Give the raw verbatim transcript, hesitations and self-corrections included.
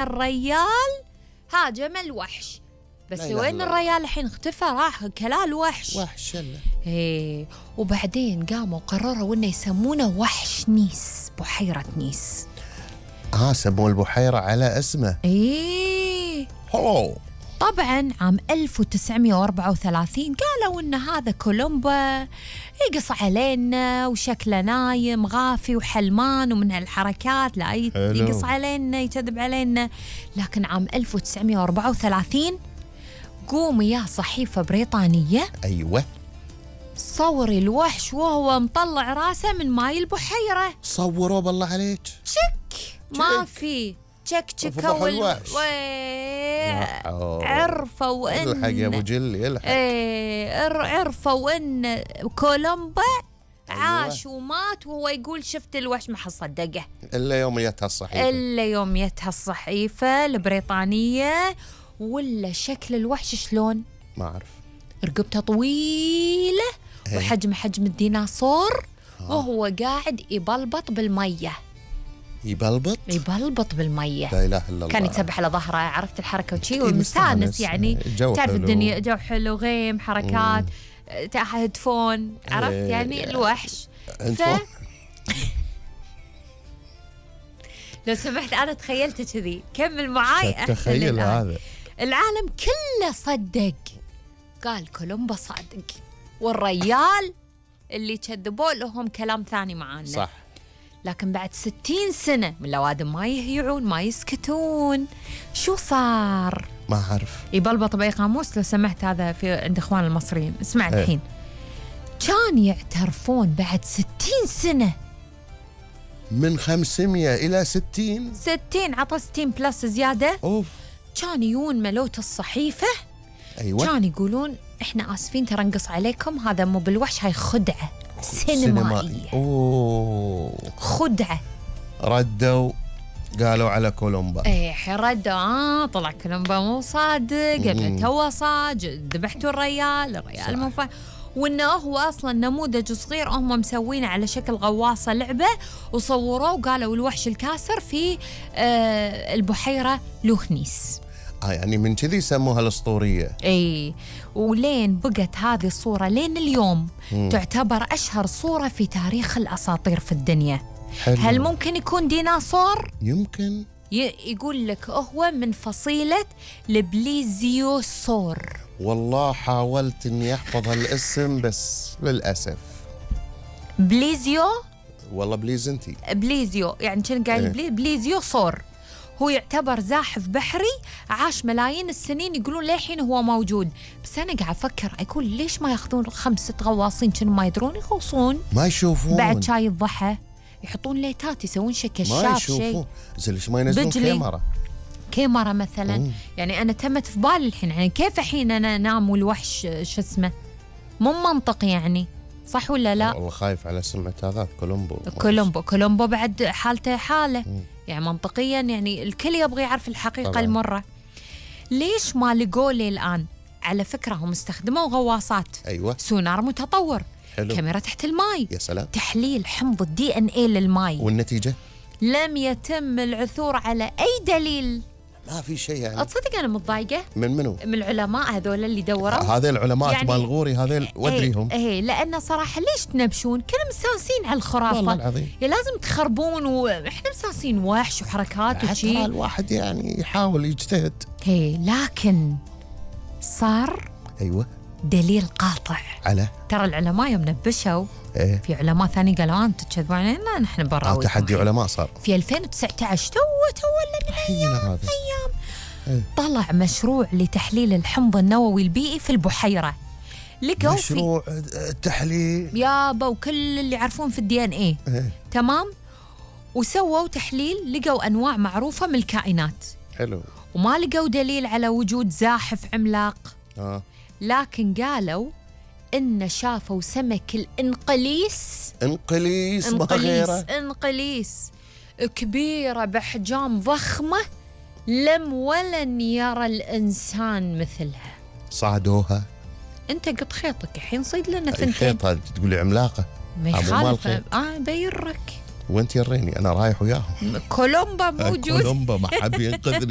الريال هاجم الوحش. بس وين الريال الحين؟ اختفى، راح كلا الوحش. وحش يلا. ايه وبعدين قاموا قرروا انه يسمونه وحش نيس، بحيرة نيس. اه سموا البحيرة على اسمه. ايه هو طبعا عام ألف وتسعمية وأربعة وثلاثين قالوا ان هذا كولومبا يقص علينا وشكله نايم غافي وحلمان ومن هالحركات، لا يقص علينا يكذب علينا. لكن عام ألف وتسعمية وأربعة وثلاثين قوم يا صحيفة بريطانية ايوه صوري الوحش وهو مطلع راسه من ماي البحيرة. صوروا بالله عليك. تشك ما في تشك تشكوا الوحش. عرفوا ان الحق يا ابو جل يلحق. ايه عرفوا ان كولومبا عاش ومات وهو يقول شفت الوحش، ما حصدقه الا يوم جتها الصحيفة. الا يوم جتها الصحيفة البريطانية. ولا شكل الوحش شلون؟ ما اعرف. رقبته طويلة وحجم حجم الديناصور. آه. وهو قاعد يبلبط بالمية. يبلبط؟ يبلبط بالمية. لا اله الا الله. كان يتسبح على ظهره، عرفت الحركة وشي ومستانس يعني. تعرف الدنيا جو حلو، غيم حركات هيدفون، عرفت ايه يعني الوحش. ف... لو سمحت أنا تخيلت كذي، كمل معاي. تخيل هذا العالم كله صدق، قال كولومبا صادق، والريال اللي كذبوا لهم كلام ثاني معانا. صح. لكن بعد ستين سنة من الأوادم ما يهيعون ما يسكتون. شو صار؟ ما أعرف. يبلبط بأي قاموس لو سمحت، هذا في عند إخوان المصريين. اسمع الحين. كان يعترفون بعد ستين سنة، من خمسمية إلى ستين. ستين عطى ستين بلس زيادة. أوف. كان يون ملوت الصحيفة. أيوة. كان يقولون إحنا آسفين ترى نقص عليكم، هذا مو بالوحش، هاي خدعة سينمائية. أوه. خدعة. ردوا قالوا على كولومبا. ايه ردوا اه طلع كولومبا مو صادق، قبل تو صاج، ذبحتوا الريال، الريال مو فا وانه هو اصلا نموذج صغير هم مسوينه على شكل غواصه لعبه، وصوروه وقالوا الوحش الكاسر في آه البحيره لوخنيس. اه يعني من كذي سموها الاسطوريه. اي ولين بقت هذه الصوره لين اليوم مم. تعتبر اشهر صوره في تاريخ الاساطير في الدنيا. حلو. هل ممكن يكون ديناصور؟ يمكن. يقول لك هو من فصيله البليزيوسور. والله حاولت اني احفظ هالاسم بس للاسف. بليزيو؟ والله بليزنتي. بليزيو يعني كان قايل ايه؟ بلي بليزيو صور. هو يعتبر زاحف بحري عاش ملايين السنين، يقولون للحين هو موجود. بس انا قاعد افكر اقول ليش ما ياخذون خمسة غواصين كانوا ما يدرون يغوصون؟ ما يشوفون. بعد شاي الضحى يحطون ليتات يسوون شيء كشاف، ما يشوفون. زين ليش ما ينزلون كاميرا؟ كاميرا مثلا. مم. يعني انا تمت في بالي الحين، يعني كيف الحين انا انام والوحش شو اسمه؟ مو منطق يعني، صح ولا لا؟ والله خايف على سمعة هذا كولومبو. كولومبو كولومبو بعد حالته حاله. مم. يعني منطقيا يعني الكل يبغى يعرف الحقيقه طبعا. المره ليش ما لقوا لي الان؟ على فكره هم استخدموا غواصات. ايوه. سونار متطور. حلو. كاميرا تحت الماي. يا سلام. تحليل حمض الدي ان اي للماي. والنتيجه؟ لم يتم العثور على اي دليل. ما في شيء يعني. تصدق انا متضايقه من منو؟ من العلماء هذول اللي دوروا. هذول العلماء يعني مال الغوري هذول ودريهم. ايه, ايه لانه صراحه ليش تنبشون؟ كلنا مستانسين على الخرافه والله العظيم. يا لازم تخربون، واحنا مستانسين وحش وحركات وشي. حتى الواحد يعني يحاول يجتهد. ايه لكن صار ايوه دليل قاطع على ترى العلماء يوم نبشوا. ايه؟ في علماء ثاني قالوا انتم تكذبون علينا، نحن براويكم. تحدي علماء صار في ألفين وتسعة عشر تو تو ولا من ايام ايام ايه؟ طلع مشروع لتحليل الحمض النووي البيئي في البحيره. لقوا مشروع تحليل يابا وكل اللي يعرفون في الدي ان ايه. ايه؟ تمام. وسووا تحليل لقوا انواع معروفه من الكائنات. حلو. وما لقوا دليل على وجود زاحف عملاق. اه لكن قالوا إن شافوا سمك الإنقليس. إنقليس ما إنقليس غيره. إنقليس كبيرة بأحجام ضخمة لم ولن يرى الإنسان مثلها. صعدوها. أنت قط خيطك الحين صيد لنا ثنتين. خيط هذه تقولي عملاقة. ما يخالف. آه بيرك وانت يريني انا رايح وياهم. كولومبا موجود. كولومبا ما حد ينقذني.